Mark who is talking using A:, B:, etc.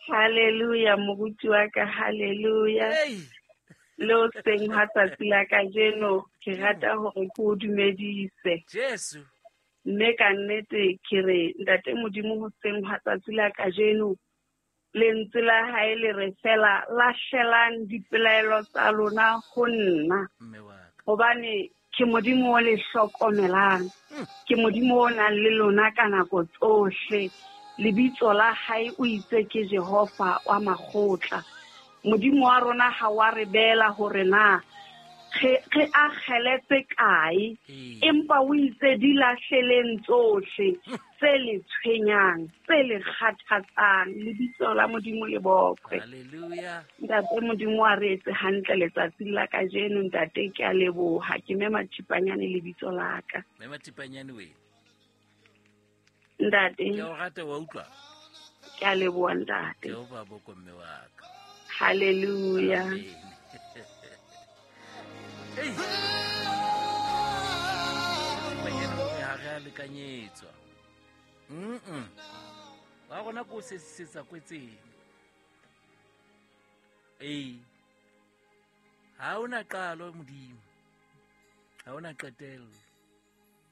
A: Hallelujah, moruti wa ka, hallelujah. Le o seng ha tsatsi la kajeno, ke rata hore ke o dumedise.
B: Jesu.
A: Mme ka nnete ke re, Ntate Modimo, hoseng ha tsatsi la kajeno, lentswe la hae le re fela, lahlelang dipelaelo tsa lona ho nna.
B: Mme wa ka.
A: Hobane ke Modimo o le hlokomelang. Ke Modimo o nang le lona ka nako tsohle. Lebitso la hae o itse ke Jehova wa makgotla. Modimo wa rona ha wa re beela hore na re akgele tse kae, empa o itse di lahleleng tsohle tse le tshwenyang, tse le kgathatsang. Lebitso la Modimo le bokwe.
B: Hallelujah.
A: Ntate Modimo wa re etse hantle letsatsing la kajeno, ntate, ke a leboha. Ke Mema Thipanyane lebitso la ka.
B: Mema Thipanyane we.
A: Ntate.
B: Ke o rata wa utlwa?
A: Ke a leboha, ntate.
B: Ke o ba boko mme wa ka.
A: Hallelujah.
B: Amen. Hey. Ha re a lekanyetswa. Wa rona ko sesisetsa kwetseng. Ee. Ha ona qalo Modimo. Ha ona qetello.